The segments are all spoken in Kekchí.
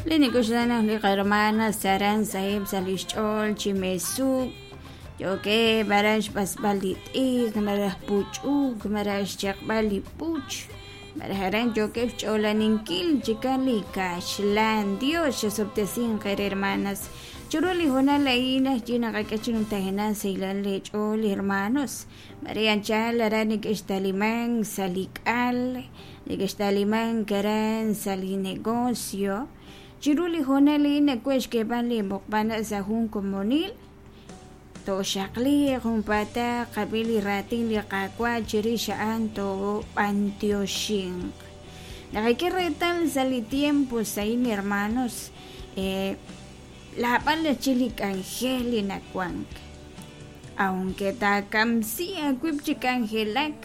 Li nik'oxla naq li qahermanas aran saheb' sa' lix ch'ool chi mesuk, yookeb' aran xb'asb'al li t'ikr malaj puch'uk malaj xchaqb'al li puch, malaj aran yookeb' xch'oolaninkil chikan li kaxlan. Dios xosob'tesinq eere hermanas. Chiru li hoonal a'in ajwi' naqak'e chi numtajenaq sahilal leech'ool hermanos. Mare anchal aran neke'xtalimank sa' li k'al, neke'xtalimank aran sa' li negocio. Chiru li hoonal a'in nawe' xk'eeb'al li muqb'al sa' jun komonil, tooxaqliiq junpaataq qab'i li raatin li Qaawa' chirix a'an toob'antioxinq. Naqak'e reetal sa' li tiempo a'in hermanos, laab'al chi li k'anjel li nawank. Aunque taakamsi aawib' chi k'anjelak,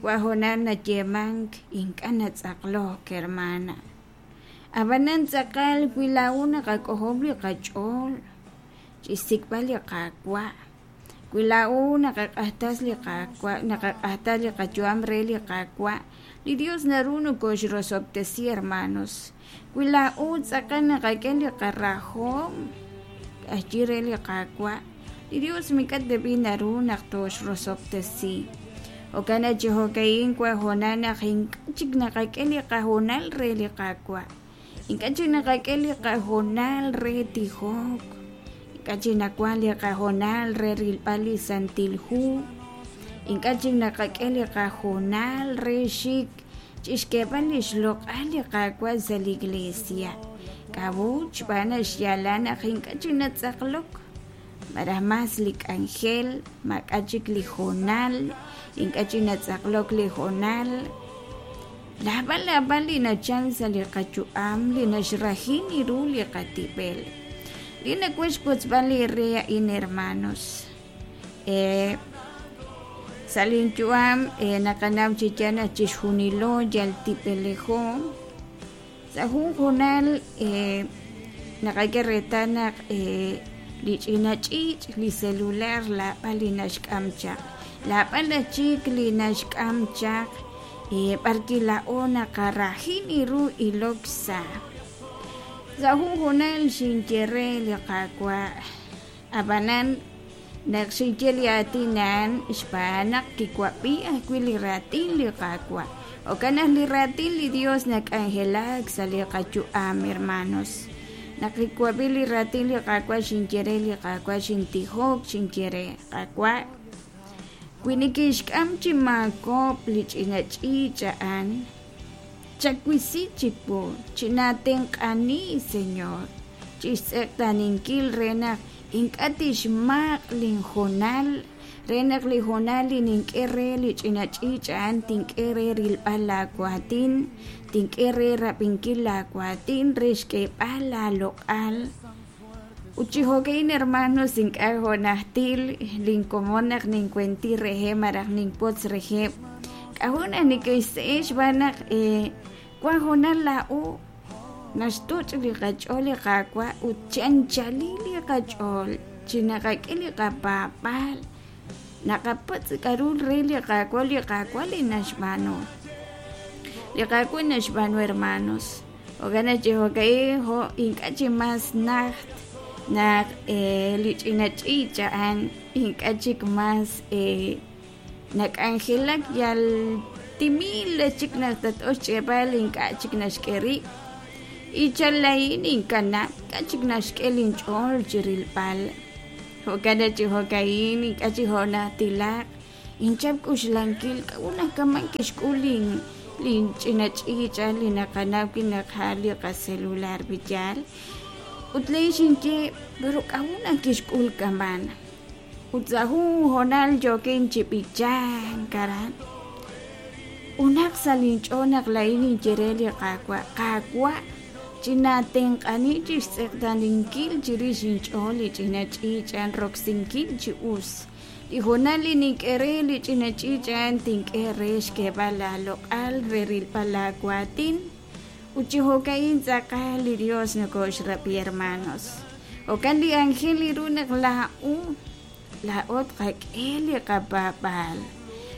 wa hoonal nayeemank ink'a' natz'aqlok, hermana. Ab'anan tz'aqal wi laa'o naqak'ojob' li qach'ool chi xsik'b'al li Qaawa', wi laa'o naqaq'axtas li Qaawa', naqaq'axtas li qayu'am re li Qaawa', li Dios naru nokoxrosob'tesi, hermanos. Wi laa'o tz'aqal naqak'e li qarajom k'axyi re li Qaawa', li Dios mik'a' teb'i naru naq toxrosob'tesi. Jo'kan naq chi jo'ka'in wa hoonal naq ink'a' chik naqak'e li qahoonal re li Qaawa', ink'a' chik naqak'e li qahoonal re tijok, ink'a' chik nawank li qahoonal re rilb'al li Santil Hu, ink'a' chik naqak'e li qahoonal re xik chixk'eeb'al li xloq'al li Qaawa' sa' li iglesia. K'a'ut? Xb'aan naq xyaalal naq ink'a' chik natz'aqlok, malaj mas li k'anjel, maak'a' chik li hoonal, ink'a' chik natz'aqlok li hoonal. Naab'al naab'al li nachal sa' li qayu'am li naxrahi ru li qatib'el. Li nawaj xwotzb'al eere a'in, hermanos, sa' linyu'am naqanaw chi yaal naq chixjunilo yal tib'elejo. Sa' jun hoonal naqak'e reetal naq li ch'ina ch'iich', li celular laab'al li naxk'am chaq, laab'al aj chik li naxk'am chaq b'arwi' laa'o naqarahi ru ilok sa'. Sa' jun hoonal xinye re li Qaawa', ab'anan naq xinye li aatin a'an xb'aan naq kiwab'i ajwi' li raatin li Qaawa'. Jo'kan naq li raatin li Dios nak'anjelak sa' li qayu'am, hermanos. Naq kiwab'i li raatin li Qaawa' xinye re li Qaawa', xintijok, xinye re, Qaawa', wi nikinxk'am chi maakob' li ch'ina ch'iich' a'an, chawisi chiwu, chinaatenq'ani, Señor, chixtz'eqtaaninkil re naq ink'a' tixmaq' linhoonal, re naq li hoonal li nink'e re li ch'ina ch'iich' a'an tink'e re rilb'al laawaatin, tink'e re rab'inkil laawaatin re xk'eeb'al laaloq'al. Ut chi jo'ka'in, hermanos, ink'a' jo' najtil linkomon naq ninwenti reheb' malaj ninwotz reheb', k'a'jo' naq neke'xse'e xb'aan naq wan hoonal laa'o naxtoch' li qach'ool li Qaawa' ut chi anchalil li qach'ool chi naqak'e li qapaab'aal, naqapatz' k'a'ru re li Qaawa', li Qaawa' li naxb'aanu. Li Qaawa' naxb'aanu, hermanos. Jo'kan naq chi jo'ka'in jo' ink'a' chi mas najt naq li ch'ina ch'iich' a'an ink'a' chik mas nak'anjelak yal timil chik naq tat'oq xch'e'b'al ink'a' chik naxk'e rib'. Ichala'in inkanab' ink'a' chik naxk'e linch'ool chi rilb'al. Jo'kan naq chi jo'ka'in ink'a' chik jo' najtilaq inchap k'uxlankil k'a'ut naq kama' kixk'ul lin linch'ina ch'iich' a'an li naqanaw wi' naq a'an li qacelular yaal. Ut laa'in xinye pero k'a'ut naq kixk'ul kama'an. Ut sa' jun hoonal yookin chi b'ichank aran, unaq sa' linch'ool naq laa'in ninye re li Qaawa', Qaawa', chinaatenq'ani chi xtz'eqtaaninkil chirix inch'ool li ch'ina ch'iich' a'an roksinkil chi us. Li hoonal li nink'e re li ch'ina ch'iich' a'an tink'e re xk'eeb'al laaloq'al re rilb'al laawaatin. Ut chi jo'ka'in tz'aqal li Dios nokoxrab'i, hermanos. Jo'kan li anjel li ru naq laa'o, laa'o tqak'e li qapaab'aal.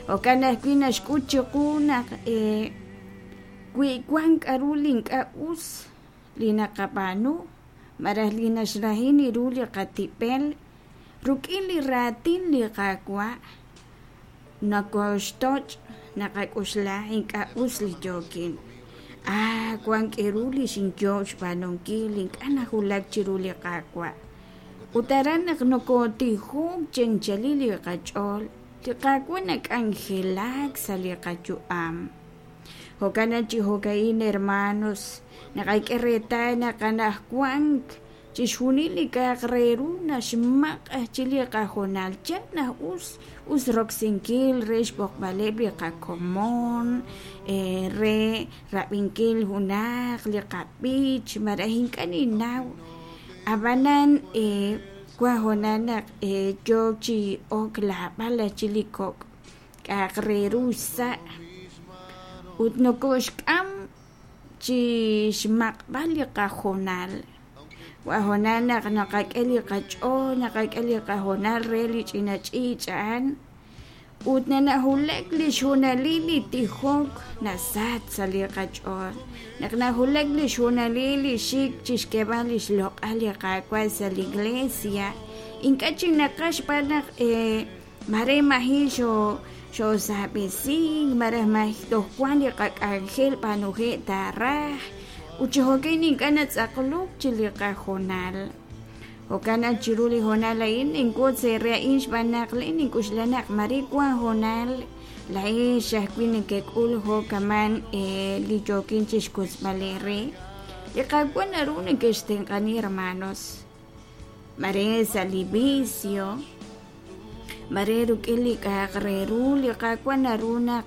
Jo'kan ajwi' naxk'ut chiqu naq wi wank k'a'ru li ink'a' us, li naqab'aanu malaj li naxrahin ru li qatib'el rik'in li raatin li Qaawa' nokoxtoch' naqak'oxla ink'a' us li yookin. Ah, wank k'aru li xinyoob' xb'aanunkil ink'a' nawulak chiru li Qaawa'. Ut aran naq nokootijok chi anchalil li qach'ool, li Qaawa' nak'anjelak sa' li qayu'am. Jo'kan naq chi jo'ka'in hermanos, naqak'e reetal naq anaqwan chixjunil li k'a'aq re ru naxmaq' aj chi li qahoonal. Yal naq us us roksinkil re xb'oqb'aleb' li qakomon, re rab'inkil junaq li qab'ich malaj ink'a' ninnaw. Ab'anan wank hoonal naq yook chi ok lab'al aj chi li kok' k'a'aq re ru xsa' ut nokoxk'am chi xmaq'b'al li qahoonal. Wank hoonal naq naqak'e li qach'ool, naqak'e li qahoonal re li ch'ina ch'iich' a'an ut nanawulak li xhoonalil li tijok nasach sa' li qach'ool. Naq nawulak li xhoonalil li xik chi xk'eeb'al li xloq'al li Qaawa' sa' li iglesia, ink'a' chik naqaj xb'aan naq mare maji' xoosab'esink malaj maji' toj wank li qak'anjel b'aanuhe' taaraj ut chi jo'kan ink'a' natz'aqlok chi li qahoonal. Jo'kan naq chiru li hoonal a'in ninwotz eere a'in xb'aan naq laa'in nink'oxla naq mare wank hoonal laa'ex ajwi' nekek'ul jo'kaman li yookin chi xwotzb'al eere. Li Qaawa' naru nekextenq'ani hermanos, mare sa' li vicio, mare rik'in li k'a'aq re ru li Qaawa' naru naq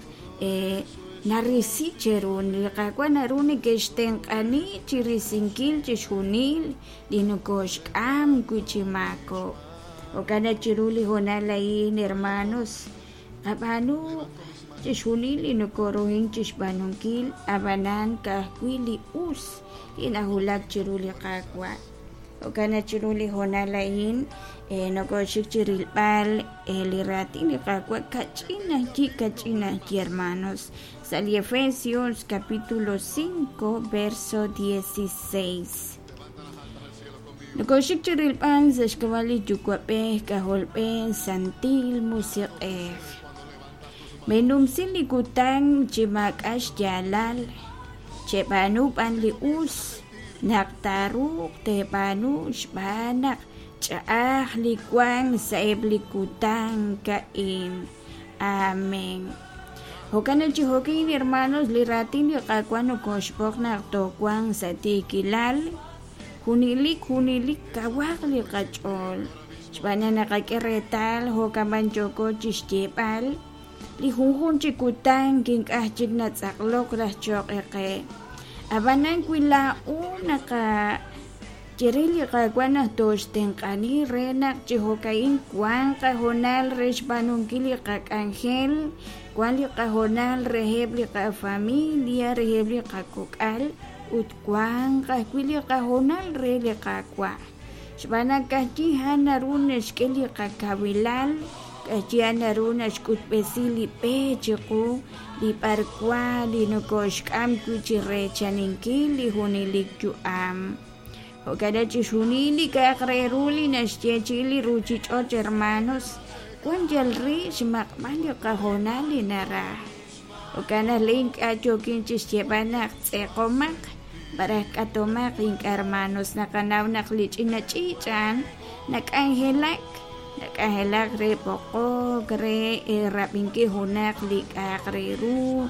narisi cheru. Li Qaawa' naru nekextenq'ani chi risinkil chixjunil li nokoxk'am wi' chi maakob'k. Jo'kan naq chiru li hoonal a'in hermanos, qab'aanu chixjunil li nokoruhank chi xb'aanunkil, ab'anan ka'ajwi' li us li nawulak chiru li Qaawa'. Jo'kan naq chiru li hoonal a'in nokoxik chi rilb'al li raatin li Qaawa' kach'in ajwi' kach'in ajwi' hermanos sa' li Efesios capítulo 5 verso 16. Nokoxik chi rilb'al sa' xk'ab'a' li Yuwa'b'ej, K'ajolb'ej, Santil Musiq'ej. Menumsi li kutan chi maak'a' xyaalal, cheb'aanu b'an li us naq taaruuq teeb'aanu xb'aan naq ch'a'aj li wank sa'eb' li kutan a'in. Amén. Jo'kan naq chi jo'kin hermanos, li raatin li Qaawa' nokoxb'oq naq toowanq sa' tiikilal, junelik junelik kawaq li qach'ool xb'aan naq naqak'e reetal jo'kaman yooko chi xyeeb'al li junjunq chi kutan ink'a' chik natz'aqlok raj cho'q qe. Ab'anan wi laa'o naqaye re li Qaawa' naq tooxtenq'ani re naq chi jo'ka'in wanq qahoonal re xb'aanunkil li qak'anjel, wank li qahoonal reheb' li qafamilia, reheb' li qakok'al ut wanq ajwi' li qahoonal re li Qaawa'. Xb'aan naq ka'ajwi' a'an naru naxk'e li qakawilal, ka'ajwi' a'an naru naxk'utb'esi li b'e chiqu li b'arwan li nokoxk'am wi' chi reechaninkil li junelik yu'am. Jo'kan naq chixjunil li k'a'aq re ru li naxyeechi'i li ruuchich'och' hermanos, wank yal re xmaq'b'al li qahoonal li naraj. Jo'kan naq laa'in ink'a' yookin chi xyeeb'al naq tz'eqomaq malaj k'atomaq ink'a' hermanos, naqanaw naq li ch'ina ch'iich' a'an nak'anjelak, nak'anjelak re b'oqok, re rab'inkil junaq li k'a'aq re ru.